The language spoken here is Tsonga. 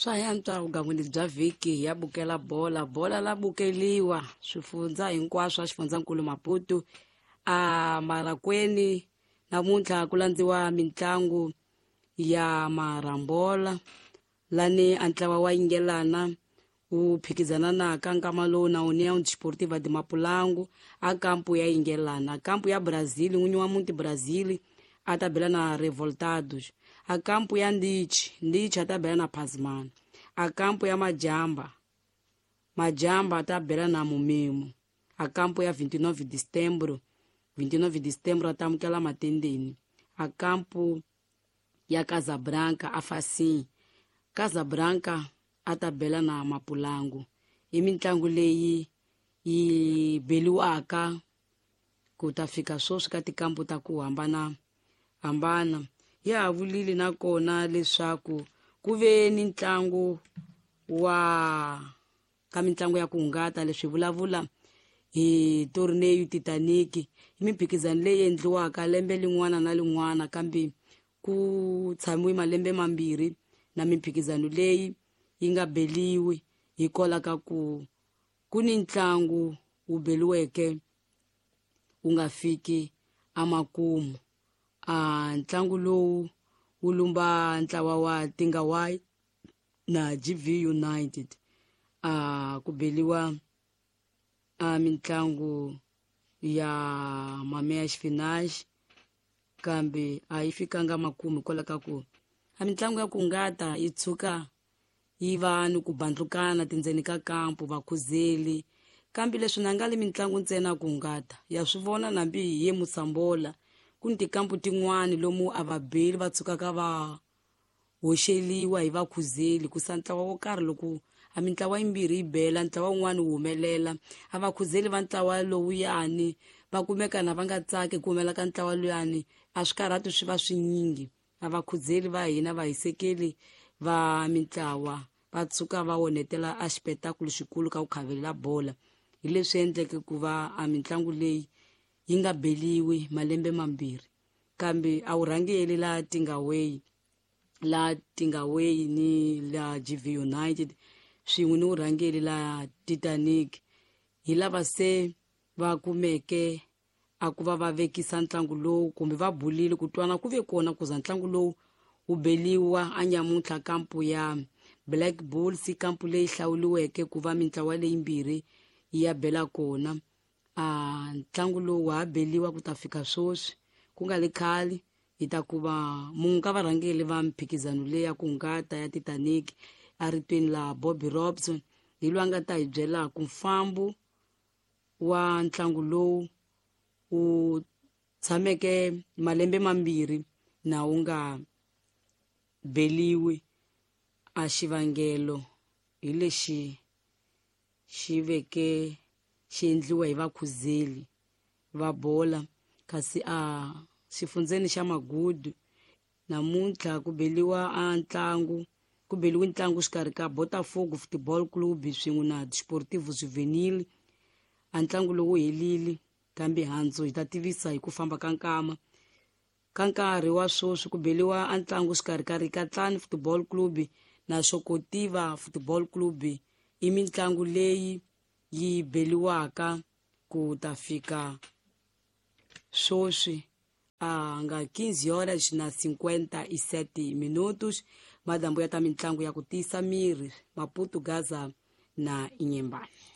Swa yantswa vugangwini bya vhiki ya bukela bola. Bola la bukeliwa swifundza hinkwaswo swa xifundzankulu Maputo. A Marakweni namuntlha ku landziwa mitlangu ya marambola lani a ntlawa wa Yingelana wu phikizana na ka nkama lowu na União Desportiva de Mapulango a kampu ya Yingelana. Kampu ya Brazil n'winyi wa muti Brazil a ta bela na Revoltados. A kampu ya Ndichi, Ndichi a ta bela na Pasmana. A kampu ya Majamba, Majamba a ta bela na Mumemo. A kampu ya 29 de Setembro, 29 de Setembro a ta amukela Matendeni. A kampu ya Casabranca a Facim, Casabranca a ta bela na Mapulangu. I mitlangu leyi yi beliwaka ku ta fika sweswi ka tikampu ta ku hambana hambana. Ya ha vulile nakona leswaku ku ve ni ntlangu wa ka mitlangu ya ku hungata leswi vulavula hi Torneio Titanic, i mimphikizano leyi endliwaka lembe lin'wana na lin'wana kambe ku tshamiwe malembe mambirhi na mimphikizano leyi yi nga beliwi hikwalaho ka ku ku ni ntlangu wu beliweke wu nga fiki emakumu. A ntlangu lowu wu lumba ntlawa wa Tingawai na GV United. A ku beliwa a mitlangu ya mameya xifinaxi kambe a yi fikanga makumu hikwalaho ka ku a mitlangu ya ku hungata yi tshuka yi va ni ku bandlukana tindzeni ka kampu vakhuzeli kambe leswi na nga le mitlangu ntsena ku hungata ya swi vona nambi hi ye Musambola ku ni tikampu tin'wani lomu a va beli va tshukaka va hoxeliwa hi vakhuzeli ku sa ntlawa wo karhi loko a mintlawa yimbirhi yi bela ntlawa wun'wani wu humelela a vakhuzeli va ntlawa lowuyani va kumeka na va nga tsaki ku humela ka ntlawa luyani a swikarhati swi va swinyingi a vakhuzeli va hina vahisekeli va mintlawa va tshuka va onhetela a xipetakulu xikulu ka ku khavelela bola hi leswi endleke ku va a mitlangu leyi yi nga beliwi malembe mambirhi kambe a wu rhangeli la Tingaway la Tingaway ni la GV United swin'we ni vurhangeri la Titanic hi lava se va kumeke a ku va va vekisa ntlangu lowu kumbe va bulile ku twana ku ve kona ku za ntlangu lowu wu beliwa a nyamuntlha kampu ya Black Bulls kampu leyi hlawuliweke ku va mintlawa leyimbirhi yi ya bela kona. A ntlangu lowu wa ha beliwa ku ta fika sweswi ku nga le khale hi ta ku va munhu ka varhangeri va mphikizano leyi ya ku hungata ya Titanic a ritweni la Bobby Robson hi loyi a nga ta hi byelaka mfambo wa ntlangu lowu wu tshameke malembe mambirhi na wu nga beliwi a xivangelo hi lexi xi veke xi endliwa hi vakhuzeli va bola kasi a xifundzeni xa Magudu namuntlha ku beliwa a ntlangu ku beliwe ntlangu xikarhi ka Botafogo Football Club swin'we na Desportivo Juvenil. A ntlangu lowu helile kambe handzu hi ta tivisa hi ku famba ka nkama ka nkarhi wa sweswi ku beliwa a ntlangu xikarhi ka Rikatlani Football Club na Xokotiva Football Club i mitlangu leyi yi beliwaka ku ta fika sweswi a nga 15 horas na 57 minutos madambu ya ta mitlangu ya ku tiyisa miri Maputo Gaza na Inyembani.